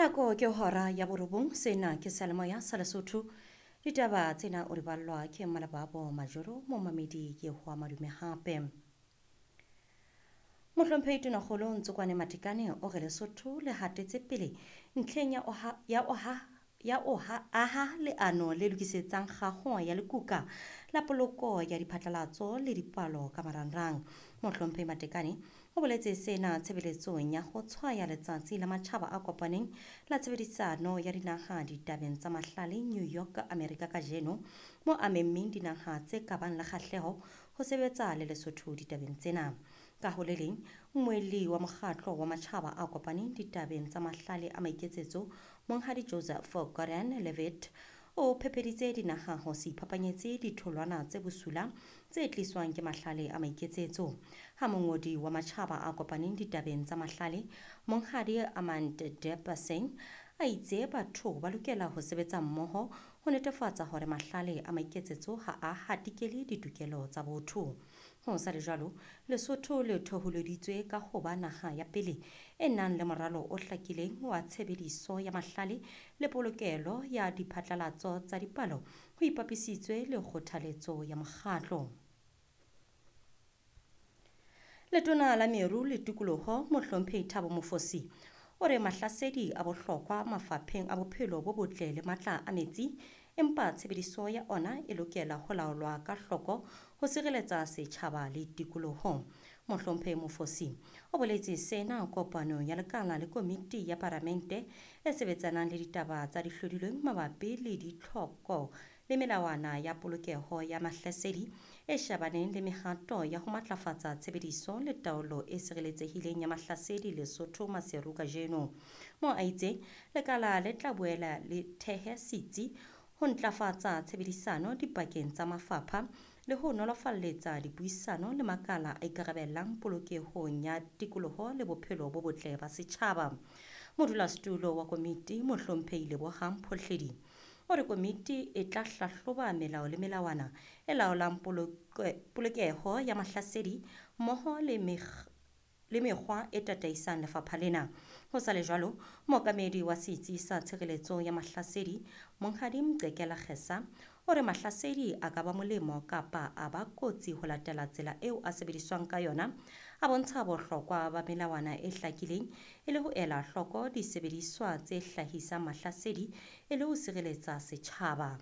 Nako ke hora ya borobong, sena ke seyalemoya sa Lesotho. Ditaba tsena o di ballwa ke Mmalebabo Majoro, momamedi ke hoa madume hape. Mohlomphehi Tonakgolo Ntsokwane Matekane o re Lesotho le hatetse pele ntlheng ya oha ya oha ya oha aha leano le lokisetsang kgaho ya lekuka la poloko ya diphatlalatso le dipalo ka marangrang. Mohlomphehi Matekane o boletse sena tshebeletsong ya ho tshwaya letsatsi la matjhaba a kopaneng la tshebedisano ya dinaha ditabeng tsa mahlale New York, Amerika kajeno, mo a memmeng dinaha tse ka bang le kgahleho ho sebetsa le Lesotho ditabeng tsena. Ka ho le leng, mmuelli wa mokgatlo wa matjhaba a kopaneng ditabeng tsa mahlale a maiketsetso, Monghadi Joseph Gordon-Levitt, o phepeditse dinaha ho se iphapanyetse ditholwana tse bosula tse tliswang ke mahlale a maiketsetso. Ha mongodi wa matjhaba a kopaneng ditabeng tsa mahlale, Monghadi Amand Singh, a itse batho ba lokela ho sebetsa mmoho ho netefatsa hore mahlale a maiketsetso ha a hatikele ditokelo tsa botho. Ho sa le jwalo, Lesotho le thoholeditswe ka ho ba naha ya pele e nang le moralo o hlakileng wa tshebediso ya mahlale le polokelo ya diphatlalatso tsa dipalo ho ipapisitswe le kgothaletso ya mokgatlo. Letona la Meru le Tikoloho, Mohlomphehi Thabo Mofosi, o re mahlasedi a bohlokwa mafapheng a bophelo bo botle le matla a metsi, empa tshebediso ya ona e lokela ho laolwa ka hloko ho sireletsa setjhaba le tikoloho. Mohlomphehi Mofosi o boletse sena kopanong ya lekala le komiti ya paramente e sebetsanang le ditaba tsa dihlodilweng mabapi le ditlhoko le melawana ya polokeho ya mahlasedi e shebaneng le mehato ya ho matlafatsa tshebediso le taolo e sireletsehileng ya mahlasedi Lesotho Maseru kajeno. Mo a itseng lekala le tla boela le thehe setsi ho ntlafatsa tshebedisano dipakeng tsa mafapha le ho nolofalletsa dipuisano le makala a ikarabellang polokehong ya tikoloho le bophelo bo botle ba setjhaba. Modulasetulo wa komiti Mohlomphehi Lebohang Phohledi o re komiti e tla hlahloba melao le melawana e laolang polokeho ya mahlasedi mmoho le mekgwa e tataisang lefapha lena. Ho sa le jwalo, mookamedi wa setsi sa tshireletso ya mahlasedi, Monghadi Mqekela Kgesa, o re mahlasedi a ka ba molemo kapa a ba kotsi ho latela tsela eo a sebediswang ka yona, a bontsha bohlokwa ba melawana e hlakileng e le ho ela hloko disebediswa tse hlahisang mahlasedi e le ho sireletsa setjhaba.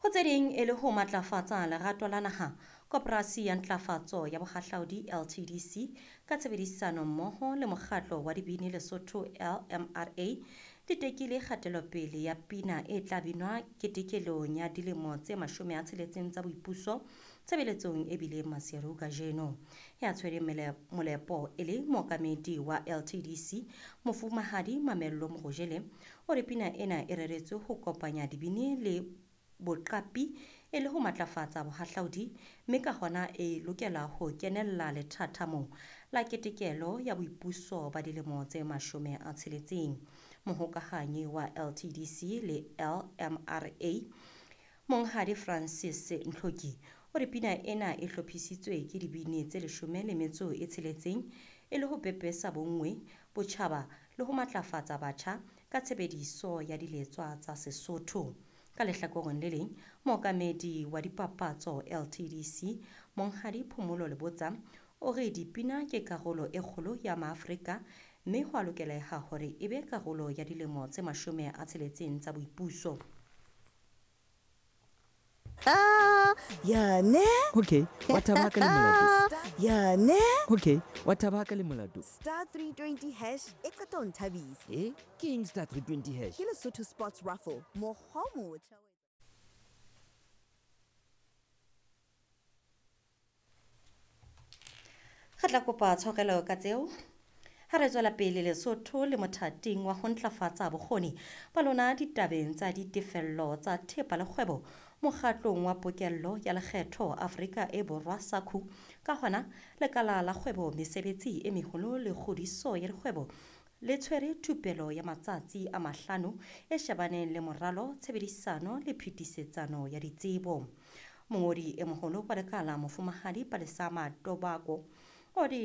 Ho tse ding e le ho matlafatsa lerato la naha, Koporasi ya Ntlafatso ya Bohahlaudi LTDC ka tshebedisano mmoho le mokgatlo wa dibini Lesotho LMRA di tekile kgatelopele ya pina e tla binwa ketekelong ya dilemo tse 60 tsa boipuso tshebeletsong e bileng Maseru kajeno. Ya tshwereng molepo e le mookamedi wa LTDC Mofumahadi Mamello Morojele o re pina ena e reretswe ho kopanya dibini le boqapi e le ho matlafatsa bohahlaudi, mme ka hona e lokela ho kenella lethathamong la ketekelo ya boipuso ba dilemo tse 60. Mohokahanyi wa LTDC le LMRA Monghadi Francis Ntlhoki o re pina ena e hlophisitswe ke dibini tse 16 e le ho pepesa bonngwe, botjhaba le ho matlafatsa batjha ka tshebediso ya diletswa tsa Sesotho. Ka lehlakoreng le leng, mookamedi wa dipapatso LTDC Monghadi Phomolo Lebotsa o re dipina ke karolo e kgolo ya Maafrika mme ho a lokeleha hore e be karolo ya dilemo tse 60 tsa boipuso. Yane. Okay, wa thaba ka le molato. Yane. Okay, wa thaba ka le molato. Star 320 hash e qeta ho nthabisa. Ke eng star 320 hash? Ke Lesotho Sports Raffle. Mokgwa o motjha. Re tla kopa tshwarelo ka tseo. Ha re tswela pele Lesotho le mothating wa ho ntlafatsa bokgoni ba lona ditabeng tsa ditefello tsa thepa le kgwebo mokgatlong wa pokello ya lekgetho Afrika e Borwa SACU. Ka hona lekala la kgwebo, mesebetsi e meholo le kgodiso ya dikgwebo le tshwere thupelo ya matsatsi a 5 e shebaneng le moralo, tshebedisano le phetisetsano ya ditsebo. Mongodi e moholo wa lekala Mofumahadi Palesa Matobako o re